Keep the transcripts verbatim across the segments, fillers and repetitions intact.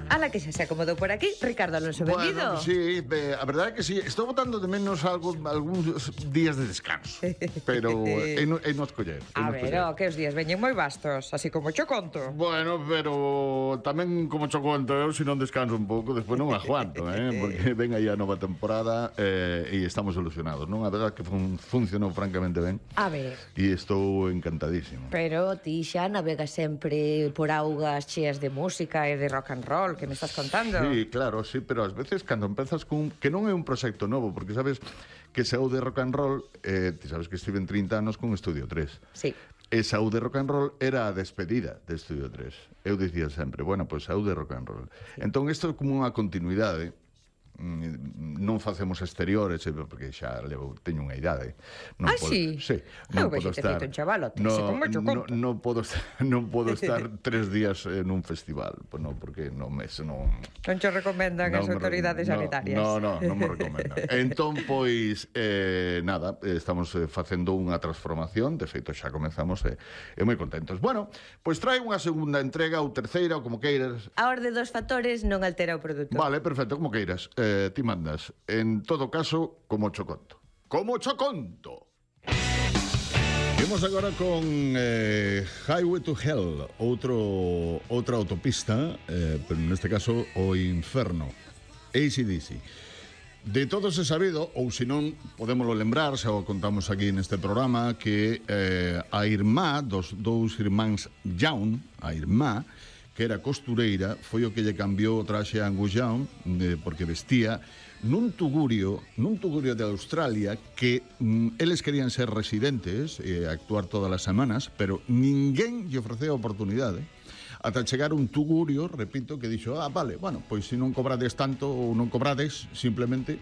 Ala que xa se acomodou por aquí, Ricardo Alonso Benvido. Bueno, sí, eh, a verdade é que sí. Estou botando de menos algo, algúns días de descanso. Pero é no, é no escoller. A ver, o, que os días veñen moi vastos, así como cho conto. Bueno, pero tamén como cho conto, eu se non descanso un pouco, despois non aguanto, eh? Porque ven aí a nova temporada eh, e estamos ilusionados, non? A verdade que fun, funcionou francamente ben. A ver. E estou encantadísimo. Pero ti xa navegas sempre por augas cheas de música e de rock and roll, que me estás contando. Sí, claro, sí, pero ás veces cando empezas cun... que non é un proxecto novo, porque sabes que saú de rock and roll, eh, ti sabes que estive en trinta anos con Estudio tres. Sí. E saú de rock and roll era a despedida de Estudio tres. Eu dicía sempre, bueno, pois pues, saú de rock and roll. Sí. Entón, isto é como unha continuidade. Non facemos exteriores porque xa levo, teño unha idade. Non ah, podo, sí? Sí. Non podo estar un chavalote, no, como no, non podo non podo estar tres días en un festival, pues no, porque non me non Non che recomendan no as autoridades no, sanitarias. No, no, non me recomendan. Entón, pois eh, nada, estamos eh, facendo unha transformación, de feito xa comenzamos e eh, moi contentos. Bueno, pois trae unha segunda entrega ou terceira ou como queiras. A orde dos factores non altera o produto. Vale, perfecto, como queiras. Eh, Eh, ti mandas. En todo caso, como cho conto. Como cho conto. Vemos agora con eh, Highway to Hell, outro, outra autopista, eh, pero neste caso o inferno. A C D C. De todos é sabido, ou se non podémoslo lembrar, xa o contamos aquí neste programa, que eh, a irmá dos dous irmáns Young, a irmá, que era costureira, foi o que lle cambiou o traxe a Angus Young, eh, porque vestía nun tugurio, nun tugurio de Australia, que mm, eles querían ser residentes e eh, actuar todas as semanas, pero ninguén lle ofreceu a oportunidade. Ata chegar un tugurio, repito, que dixo, ah, vale, bueno, pois se non cobrades tanto ou non cobrades, simplemente,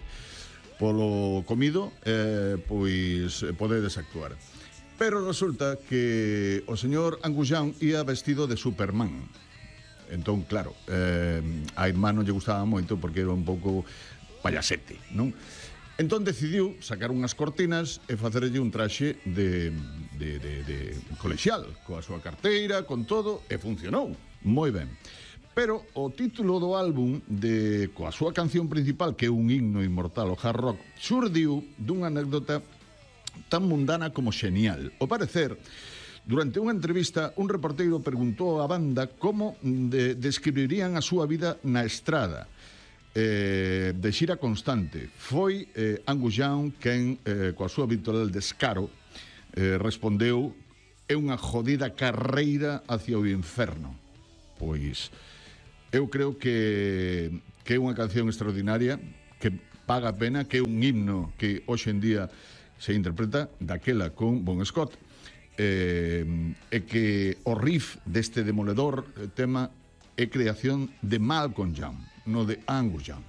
polo comido, eh, pois podedes actuar. Pero resulta que o señor Angus Young ia vestido de Superman. Entón, claro, eh, a irmá non lle gustaba moito porque era un pouco payasete, non? Entón decidiu sacar unhas cortinas e facerlle un traxe de, de, de, de colexial, coa súa carteira, con todo, e funcionou moi ben. Pero o título do álbum, de, coa súa canción principal, que é un himno inmortal, o hard rock, xurdiu dunha anécdota tan mundana como xenial. Ao parecer, durante unha entrevista, un reporteiro preguntou á banda como de, describirían a súa vida na estrada, eh, de xira constante. Foi eh, Angus Young quen, eh, coa súa habitual descaro, eh, respondeu: é unha jodida carreira hacia o inferno. Pois, eu creo que, que é unha canción extraordinaria, que paga a pena, que é un himno que hoxe en día se interpreta daquela con Bon Scott. Eh, é que o riff deste demoledor tema é creación de Malcolm Young, no de Angus Young.